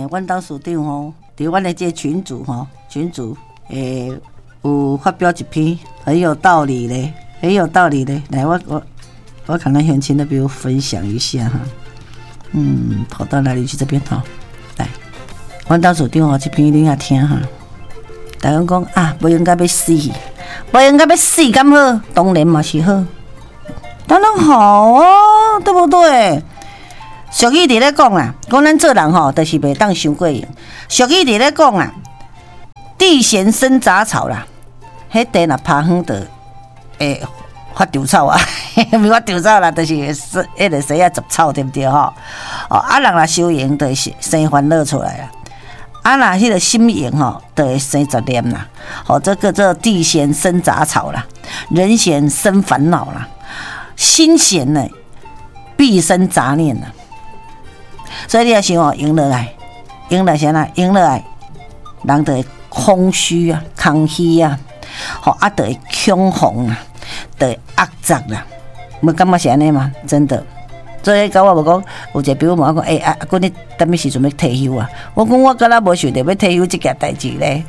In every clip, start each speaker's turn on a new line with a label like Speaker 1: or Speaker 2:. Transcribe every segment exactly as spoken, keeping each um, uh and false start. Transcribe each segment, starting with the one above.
Speaker 1: 阮董事長吼，佇阮的這個群組吼，群組欸有發表一篇很有道理咧，很有道理咧。來，我我我看咱鄉親都比我分享一下哈。嗯，跑到哪裡去？這邊吼，來，阮董事長吼，這篇你也聽哈。大家講啊，無閒甲欲死，無閒甲欲死，敢好？當然嘛是好，當然好哦，對不對？俗語佇咧講啦，講咱做人吼，就是袂當傷過閒。俗語佇咧講啊，地閒生雜草啦，彼地若拋遠就會發稻草啊，毋是發稻草啦，就是彼個生啊雜草，對毋對吼？哦，啊人若傷閒，就會生煩惱出來啦。啊若彼個心閒吼，就會生雜念啦。吼，這個叫地閒生雜草啦，人閒生煩惱啦，心閒呢必生雜念啦。所以你若想哦，閒落來，閒來啥啦？閒落來，人就會空虛啊，空虛啊，吼啊，就會恐慌啊，就會壓雜啦。無感覺是按呢嗎？真的。所以佮我無講，有一個朋友問我講，欸，啊，阿君你啥物時陣欲退休啊？我講我敢若無想著欲退休這件代誌咧，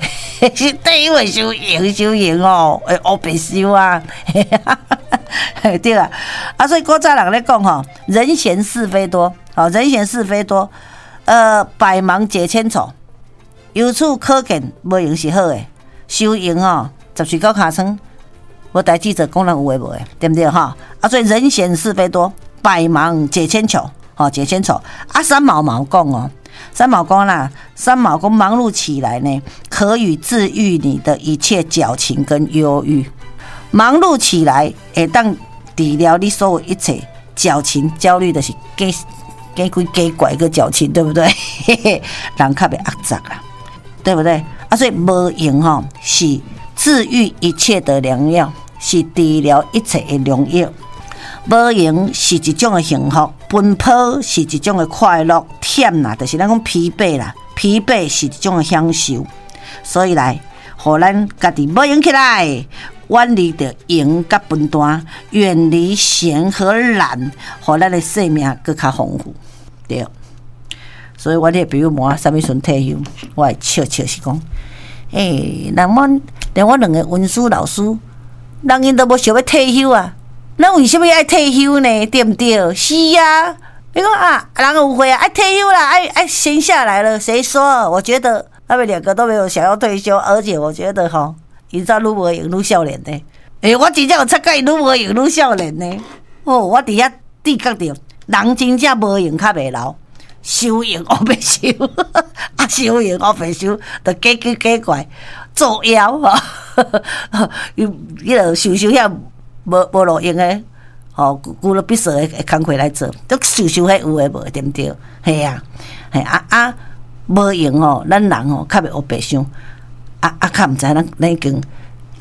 Speaker 1: 是退休會傷閒傷閒哦，會烏白想啊，對啊。啊，所以古早人咧講吼，人閒是非多，吼，人閒是非多，呃，百忙解千愁。由此可見，無閒是好的，傷閒吼，十喙九尻川，無代誌做，講人有的無的，對毋對吼？啊，所以人閒是非多。百忙解千愁，吼，解千愁。啊，三毛嘛有講哦，三毛講啦，三毛講忙碌起來呢，可以治癒你的一切矯情跟憂鬱。忙碌起來會當治療你所有一切矯情、焦慮的是假假鬼假怪個矯情，對不對？人較袂壓雜啦，對不對？啊，所以無閒吼是治癒一切的良藥，是治療一切的良藥。無閒是一種的幸福，奔波是一種的快樂，忝啦，就是咱講疲憊啦，疲憊是一種的享受。所以來，予咱家己無閒起來，遠離著閒佮笨蛋，遠離閒和懶，予咱的生命閣較豐富。對。所以阮彼個朋友問我啥物時陣退休，我會笑笑是講，欸，人阮連阮兩個文書老師，人𪜶都無想欲退休啊。咱為啥物愛退休呢？對毋對？是啊，你講啊，人有歲啊，愛退休啦，愛愛閒下來了。誰說？我覺得他們兩個都沒有想要退休，而且我覺得吼，𪜶煞愈無閒愈少年呢。欸，我真正有察覺𪜶愈無閒愈少年呢。哦，我佇遐知覺著，人真正無閒較袂老，傷閒烏白想，啊，傷閒烏白想，就假奇假怪作妖吼，伊彼個想想遐。無無路用的，吼，舊了必須的工課來做，都想想彼有的無的，對毋對？嘿啊，嘿啊啊，無閒吼，咱人吼較袂烏白想，啊啊，較毋知咱咱已經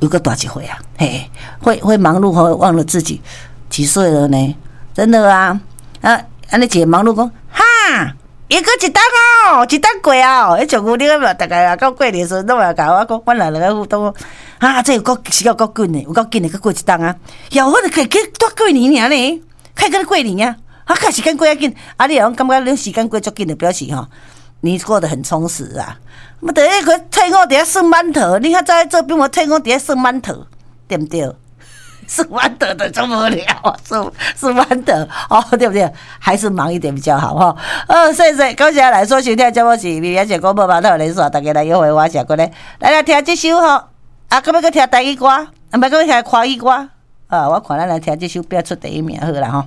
Speaker 1: 又閣大一歲啊，嘿，會會忙碌吼，忘了自己幾歲了呢？真的啊，啊，按呢一個忙碌講，哈，又閣一冬哦，一冬過哦，彼像舊年嘛，逐家到過年時陣攏會共我講，阮人兩個互動，啊，這有夠時間夠緊的，有夠緊的，閣過一冬啊，呀，我著去去拄過年爾呢，開閣過年啊，啊，較時間過較緊，啊，你若講感覺你時間過足緊，就表示吼，你過得很充實啊。毋著彼個退伍佇遐算饅頭，你較早做兵嘛退伍佇遐算饅頭，對毋對？算饅頭就足無聊，算算饅頭哦，對不對？還是忙一點比較好吼。哦，謝謝，感謝來收聽節目是美麗姐廣播碼頭連線，大家來約會，我是過來，來來聽這首吼，啊，閣欲閣聽台語歌，啊，毋閣欲聽華語歌，啊，我看咱來聽這首拼出第一名好啦吼。